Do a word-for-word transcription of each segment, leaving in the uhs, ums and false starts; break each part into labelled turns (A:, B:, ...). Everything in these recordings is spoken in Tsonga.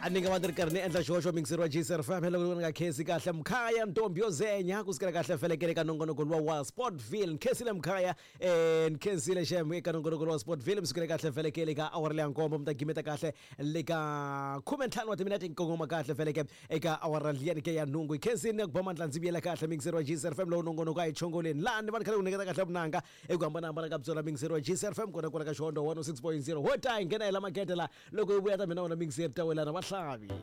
A: A ni nga va ni ri karhi ni endla xihoxo mixer wa G C F M loko ni nga khensi kahle Mkhaya Ntombi yo Zenya ku sukela kahle felekele ka nongonoko luwa wa Sportville. Ni khensile Mkhaya, eh ni khensile xem eka nongonoko luwa wa Sportville. Mi sukela kahle felekele ka awara leya nkombo, mi ta gimeta kahle le ka khume ntlhanu wa timinete, nkongoma kahle feleke eka awara liyani ke ya nhungu. Hi khensini na ku ba mandla ndzi vuyela kahle mixer wa G C F M lowu nongonoko a hi chongoleni laha ni va ni kha ni ku nyiketa kahle vunanga eku hambanahambana ka byona mixer wa G C F M kona kwala ka Xihondo one oh six point zero. Ho ta hi nghena hi la makete la loko hi vuya ta mina wona mixer ta welana Vahlavi.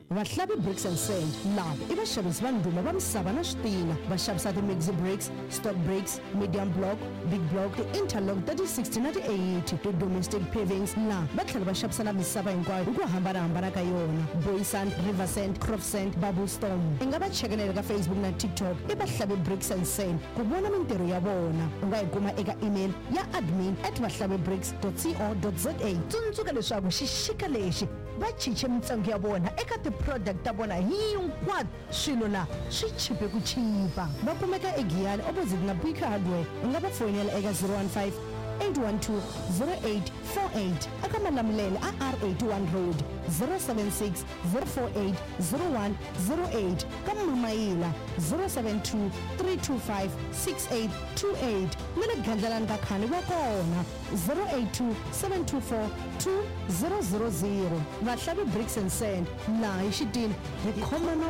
B: Vahlavi Bricks and Sand lava i vaxavisi va ndhuma va misava na switina. Va xavisa ti-mixi bricks, stock bricks, medium block, big block, ti-interlock ta ti sixty na ti eighty, ti-domestic pavings. La va tlhela va xavisa na misava hinkwayo hi ku hambanahambana ka yona, Booysand, River Sand, Crop Sand, Bubble Storm. I nga va chekelela ka Facebook na TikTok i Vahlavi Bricks and Sand ku vona mintirho ya vona. U nga yi kuma eka email ya admin at vahlavibricks co za. Tsundzuka leswaku xixika lexi va cince mintsengo ya vona eka ti-product ta vona hinkwato. Swilo la swi chipe ku chipa. Va kumeka eGiyani opposite na Bika Hardware. U nga va foyinela eka zero one five eight one two zero eight four eight, aka Malamulele a R eighty-one Road zero seven six zero four eight zero one zero eight, ka Mamayila zero seven two three two five six eight two eight, na le Gandlalani ka Khani va kona zero eight two seven two four two zero zero zero. Vahlavi Bricks and Sand, laha hi xitina hi khoma na